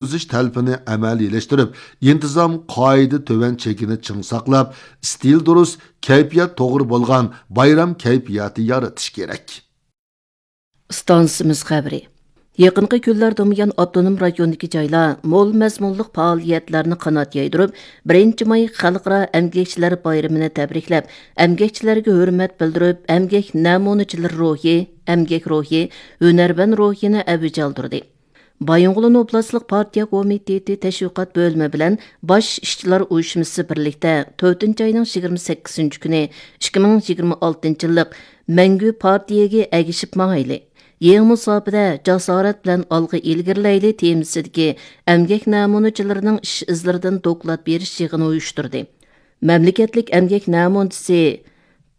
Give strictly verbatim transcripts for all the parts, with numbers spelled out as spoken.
يەتكۈزۈش تەلىپىنى ئەمەلىيلەشتۈرۈپ، ئىنتىزام قائىدە تۆۋەن چېكىنى چىڭ ساقلاپ، ئىستىل دۇرۇس، كەيپىيات توغرا بولغان بايرام كەيپىياتى يارىتىش كېرەك. ئىستانسىمىز خەۋىرى. يېقىنقى كۈنلەردە بۇيان ئاپتونوم رايوندىكى جايلار مول مەزمۇنلۇق پائالىيەتلەرنى قانات يايدۇرۇپ، بىرىنچى ماي خەلقئارا ئەمگەكچىلەر بايرىمىنى تەبرىكلەپ، ئەمگەكچىلەرگە ھۆرمەت بىلدۈرۈپ، ئەمگەك نەمۇنىچىلىرى روھى، ئەمگەك روھى، ھۈنەرۋەن روھىنى ئەۋج ئالدۇردى. بايىنغولىن ئوبلاستلىق پارتىيە كومىتېتى تەشۋىقات بۆلۈمى بىلەن باش ئىشچىلار ئۇيۇشمىسى بىرلىكتە تۆتىنچى ئاينىڭ يىگىرمە سەككىزىنچى كۈنى، ئىككى مىڭ يىگىرمە ئالتىنچى يىللىق مەڭگۈ پارتىيەگە ئەگىشىپ ماڭايلى، يېڭى مۇساپىدە جاسارەت بىلەن ئالغا ئىلگىرىلەيلى تېمىسىدىكى ئەمگەك نەمۇنىچىلىرىنىڭ ئىش ئىزلىرىدىن دوكلات بېرىش يىغىنى ئۇيۇشتۇردى. مەملىكەتلىك ئەمگەك نەمۇنىچىسى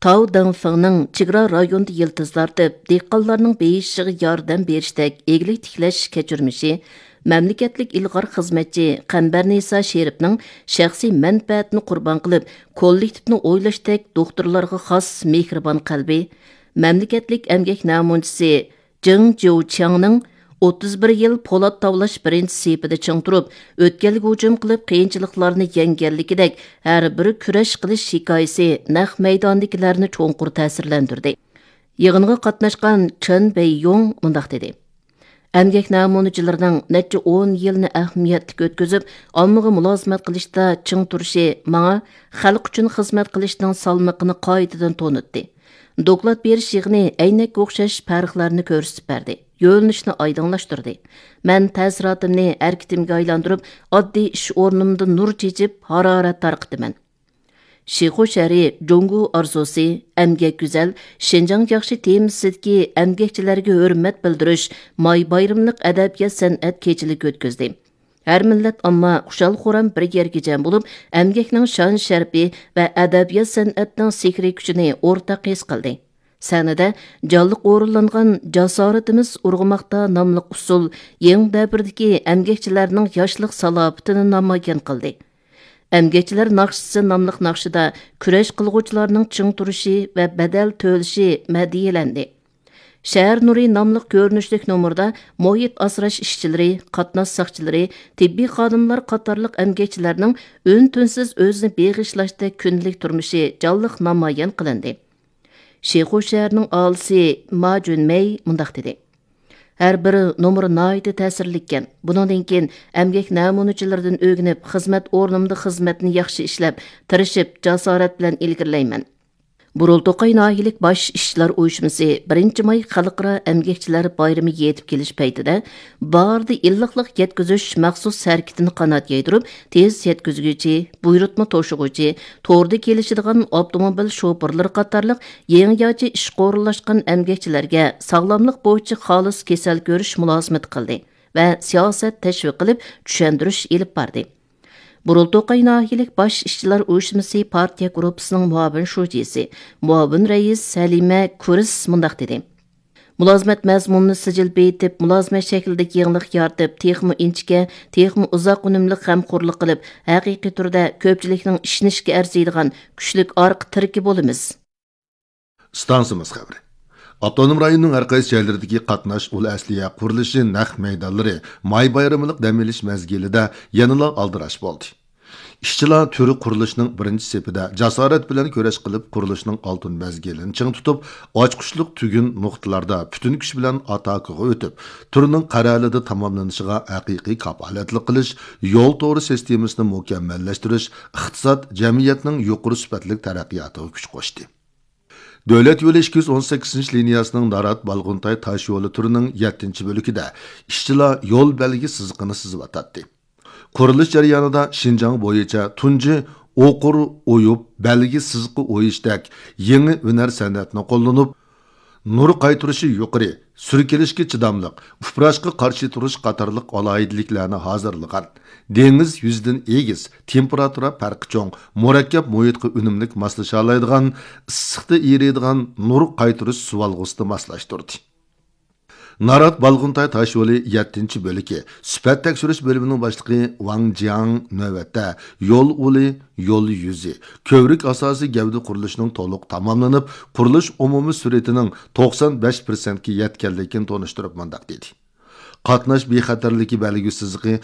تاۋ دېڭفېڭنىڭ چېگرا رايوندا يىلتىز تارتىپ، دېھقانلارنىڭ بېيىشىغا ياردەم بېرىشتەك ئىگىلىك تىكلەش كەچۈرمىشى، مەملىكەتلىك ئىلغار خىزمەتچى قەمبەرنىسا شېرىپنىڭ شەخسىي مەنپەئەتىنى قۇربان قىلىپ، كوللېكتىپنى ئويلاشتەك دوختۇرلارغا خاس مېھرىبان قەلبى، مەملىكەتلىك ئەمگەك نەمۇنىچىسى جېڭ جيۇچياڭنىڭ ئوتتۇز بىر يىل پولات تاۋلاش بىرىنچى سېپىدە چىڭ تۇرۇپ، ئۆتكەلگە ھۇجۇم قىلىپ، قىيىنچىلىقلارنى يەڭگەنلىكىدەك، ھەر بىر كۈرەش قىلىش ھېكايىسى نەق مەيداندىكىلەرنى چوڭقۇر تەسىرلەندۈردى. يىغىنغا قاتناشقان چېن بېييۇڭ مۇنداق دېدى: ئەمگەك نەمۇنىچىلىرىنىڭ نەچچە ئون يىلنى ئەھمىيەتلىك ئۆتكۈزۈپ، ئاممىغا مۇلازىمەت قىلىشتا چىڭ تۇرۇشى ماڭا خەلق ئۈچۈن خىزمەت قىلىشنىڭ سالمىقىنى قايتىدىن تونۇتتى. دوكلات بېرىش يىغىنى ئەينەككە ئوخشاش پەرقلەرنى كۆرسىتىپ بەردى، يۆنىلىشنى ئايدىڭلاشتۇردى. مەن تەسىراتىمنى ھەرىكىتىمگە ئايلاندۇرۇپ، ئاددىي ئىش ئورنۇمدا نۇر چېچىپ، ھارارەت تارقىتىمەن. شىخۇ شەھىرى جۇڭگو ئارزۇسى، ئەمگەك گۈزەل، شىنجاڭ ياخشى تېمىسىدىكى ئەمگەكچىلەرگە ھۆرمەت بىلدۈرۈش ماي بايرىملىق ئەدەبىيات سەنئەت كېچىلىكى ئۆتكۈزدى. ھەر مىللەت ئامما خۇشال-خۇرام بىر يەرگە جەم بولۇپ، ئەمگەكنىڭ شان-شەرىپى ۋە ئەدەبىيات-سەنئەتنىڭ سېھرىي كۈچىنى ئورتاق ھېس قىلدى. سەھنىدە جانلىق ئورۇنلانغان جاسارىتىمىز ئۇرغۇماقتا ناملىق ئۇسسۇل يېڭى دەۋردىكى ئەمگەكچىلەرنىڭ ياشلىق سالاپىتىنى نامايان قىلدى. ئەمگەكچىلەر ناخشىسى ناملىق ناخشىدا كۈرەش قىلغۇچىلارنىڭ چىڭ تۇرۇشى ۋە بەدەل تۆلىشى مەدھىيەلەندى. شەھەر نۇرى ناملىق كۆرۈنۈشلۈك نومۇردا مۇھىت ئاسراش ئىشچىلىرى، قاتناش ساقچىلىرى، تېببىي خادىملار قاتارلىق ئەمگەكچىلەرنىڭ ئۈن-تىنسىز ئۆزىنى بېغىشلاشتەك كۈندىلىك تۇرمۇشى جانلىق نامايان قىلىندى. شىخۇ شەھىرىنىڭ ئاھالىسى ما جۈنمەي مۇنداق دېدى: ھەر بىر نومۇر ناھايىتى تەسىرلىككەن. بۇنىڭدىن كېيىن ئەمگەك نەمۇنىچىلىرىدىن ئۆگىنىپ، خىزمەت ئورنۇمدا خىزمەتنى ياخشى ئىشلەپ، تىرىشىپ، جاسارەت بىلەن ئىلگىرىلەيمەن. بۇرۇلتوقاي ناھىيەلىك باش ئىشچىلار ئۇيۇشمىسى بىرىنچى ماي خەلقئارا ئەمگەكچىلەر بايرىمى يېتىپ كېلىش پەيتىدە، بارىدا ئىللىقلىق يەتكۈزۈش مەخسۇس ھەرىكىتىنى قانات يايدۇرۇپ، تېز يەتكۈزگۈچى، بۇيرۇتما توشۇغۇچى، توردا كېلىشىدىغان ئاپتوموبىل شوپۇرلىرى قاتارلىق يېڭىچە ئىشقا ئورۇنلاشقان ئەمگەكچىلەرگە ساغلاملىق بويىچە خالىس كېسەل كۆرۈش مۇلازىمىتى قىلدى ۋە سىياسەت تەشۋىق قىلىپ، چۈشەندۈرۈش ئېلىپ باردى. بۇرۇلتوقاي ناھىيەلىك باش ئىشچىلار ئۇيۇشمىسى پارتىيە گۇرۇپپىسىنىڭ مۇئاۋىن شۇجىسى، مۇئاۋىن رەئىس سەلىمە كۇرس مۇنداق دېدى: مۇلازىمەت مەزمۇنىنى سىجىل بېيىتىپ، مۇلازىمەت شەكلىدىكى يېڭىلىق يارىتىپ، تېخىمۇ ئىنچىكە، تېخىمۇ ئۇزاق ئۈنۈملۈك غەمخورلۇق قىلىپ، ھەقىقىي تۈردە كۆپچىلىكنىڭ ئىشىنىشىگە ئەرزىيدىغان كۈچلۈك ئارقا تىرىكى بولىمىز. ئىستانسىمىز خەۋىرى. ئاپتونوم رايوننىڭ ھەر قايسى جايلىرىدىكى قاتناش ئۇل ئەسلىھە قۇرۇلۇشى نەق مەيدانلىرى ماي بايرىملىق دەم ئېلىش مەزگىلىدە يەنىلا ئالدىراش بولدى. ئىشچىلار تۈرى قۇرۇلۇشنىڭ بىرىنچى سېپىدە جاسارەت بىلەن كۈرەش قىلىپ، قۇرۇلۇشنىڭ ئالتۇن مەزگىلىنى چىڭ تۇتۇپ، ئاچقۇچلۇق تۈگۈن نۇقتىلاردا پۈتۈن كۈچ بىلەن ئاتاكىغا ئۆتۈپ، تۈرنىڭ قەرەلىدە تاماملىنىشىغا ھەقىقىي كاپالەتلىك قىلىش، يول تورى سىستېمىسىنى مۇكەممەللەشتۈرۈش، ئىقتىساد، جەمئىيەتنىڭ يۇقىرى سۈپەتلىك تەرەققىياتىغا كۈچ قوشتى. دۆلەت يولى ئىككى يۈز ئون سەككىزىنچى لىنىيەسىنىڭ نارات بالغۇنتاي تاش يولى تۈرىنىڭ يەتتىنچى بۆلىكىدە ئىشچىلار يول بەلگە سىزىقىنى سىزىۋاتاتتى. قۇرۇلۇش جەريانىدا شىنجاڭ بويىچە تۇنجى ئوقۇر ئويۇپ بەلگە سىزىقى ئويۇشتەك يېڭى ھۈنەر سەنئەتنى قوللىنىپ، نۇر قايتۇرۇشى يۇقىرى، سۈركىلىشكە چىداملىق، ئۇپراشقا قارشى تۇرۇش قاتارلىق ئالاھىدىلىكلەرنى ھازىرلىغان. دېڭىز يۈزىدىن ئېگىز، تېمپېراتۇرا پەرقى چوڭ، مۇرەككەپ مۇھىتقا ئۈنۈملۈك ماسلىشالايدىغان، ئىسسىقتا ئېرىيدىغان نۇر قايتۇرۇش سۇۋالغۇسىنى ماسلاشتۇردى. نارات بالغۇنتاي تاش يولى يەتتىنچى بۆلىكى سۈپەت تەكشۈرۈش بۆلۈمىنىڭ باشلىقى ۋاڭ جياڭ نۆۋەتتە يول ئۇلى، يول يۈزى، كۆۋرۈك ئاساسىي گەۋدە قۇرۇلۇشىنىڭ تولۇق تاماملىنىپ، قۇرۇلۇش ئومۇمىي سۈرئىتىنىڭ توقسان بەش پىرسەنتكە يەتكەنلىكىنى تونۇشتۇرۇپ مۇنداق دېدى: قاتناش بىخەتەرلىكى بەلگە سىزىقى